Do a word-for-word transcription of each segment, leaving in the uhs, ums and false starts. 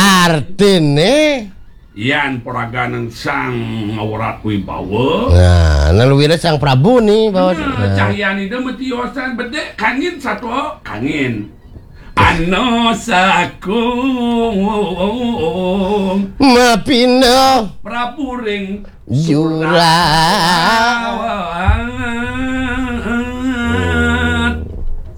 Artine yan paraganing Sang Ngawrat Wibawa. Nah, nah luwira Sang Prabu ni, Baos. Nah, nah. Cahyan ida matiosan bedek kangin satua kangin. Ana sakung mapinda Prabu ring jurang. Surat.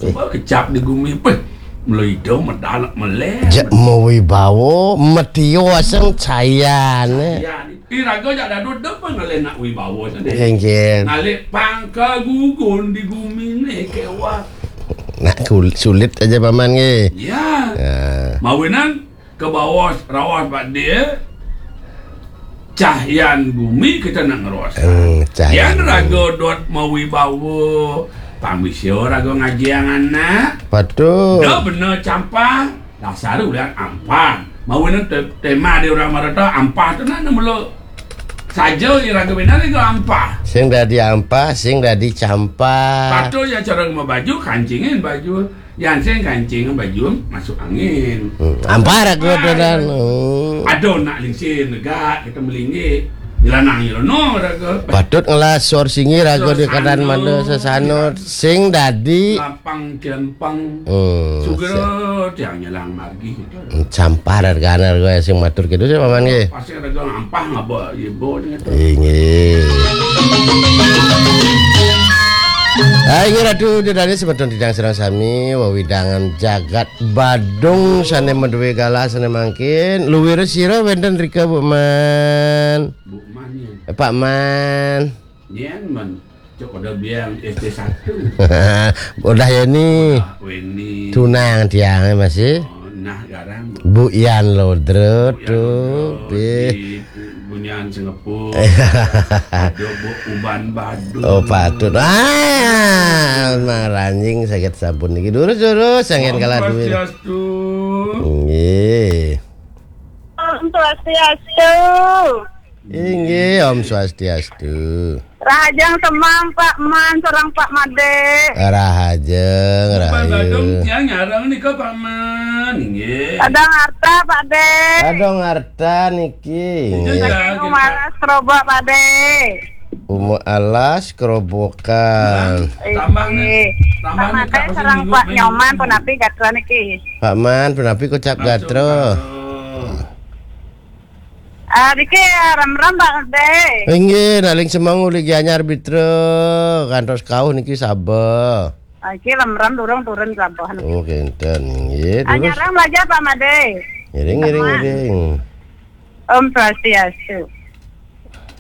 Coba kecap di gumi, peh. Mula ida medal meleh. Jak mawibawa, matio aseng cahyan. Yan. Iraga jak dadu dep ngalih nak wibawa sane. Inggih. Ngalih pang kagugun di gumine kewah. Nak kul-, sulit aja paman nggih. Ya. Ya. Mawinan ke bawah rawas Pak Dil. Cahyan gumi kita nak ngeros. Hmm, cahyan. Yan raga dot mawibawa. Pang bisa raga ngajiang anak. Patut. Dah bener campah. Dasar ulian ampah. Mawinan te-, tema di orang Marata ampah tu nak mula. Saja iraga bina raga ampah. Sing dadi ampah, sing dadi campah. Patut ya cara mabaju, kancingin baju. Yan sing kancing baju masuk angin. Hmm, ampah raga tenan. Hmm. Ada nak lingsir negak kita melinggih. Dilanang nyelono raga. Patut ngelas sor singi raga di kanan manda sesano. Sing dadi lapang kelempang. Hmm, sugra tiang nyelang margi. Hmm, campah raga, raga sing matur gitu sih paman nggih. Pasti raga ampah ngaba ibu ni tu. Inggih. Ah, inggih Ratu Ida Dané semeton titiang sareng sami wewidangan jagat Badung sané madué galah sané mangkin. Luwira sira wénten rika, Bu Man? Bu Man ya. Eh, Pak Man. Nyén Man. Cok udah biang S D satu. Udah ya ni. Ah, Weni. Tunang tiang masih. Oh, nah garang. Bu Yan Lodro. Bu Yan tuh, Lodro, di Bunyan Singapura. Ada Bu Uban Badung. Oh, patut. Ah, maranjing sakit sampun niki. Durus, durus, sanggen Om kalah duit. Swastiastu. Nggih. Om Swastiastu. Inggih, Om Swastiastu. Rahajeng semeng Pak Man sareng Pak Madé. Rahajeng, Pak Badung rahayu. Tiang nyareng nika Pak Man, inggih. Kadang harta Pak Dé. Kadang harta niki. Iya, inggih. Iya, Saking gitu. Umalas Kerobok Pak Dé. Uma Alas Kerobokan. Tambah nih, inggih. Tambah Pak nih, Madé Kak, sareng minggu, Pak minggu. Nyoman punapi gatra niki. Pak Man, punapi kocap langsung gatra. Gatra. Ah, niki, ah, ram-ram, Pak Dé. Inggih, naling semeng uli Gianyar Bitra, kantos kauh niki saba. Ah, iki ram-ram durung turun sampun. Oh, kenten, inggih. Ah, terus? Nyarang belajar, Pak Madé. Ngiring, ngiring, Sama. Ngiring. Om Swastiastu.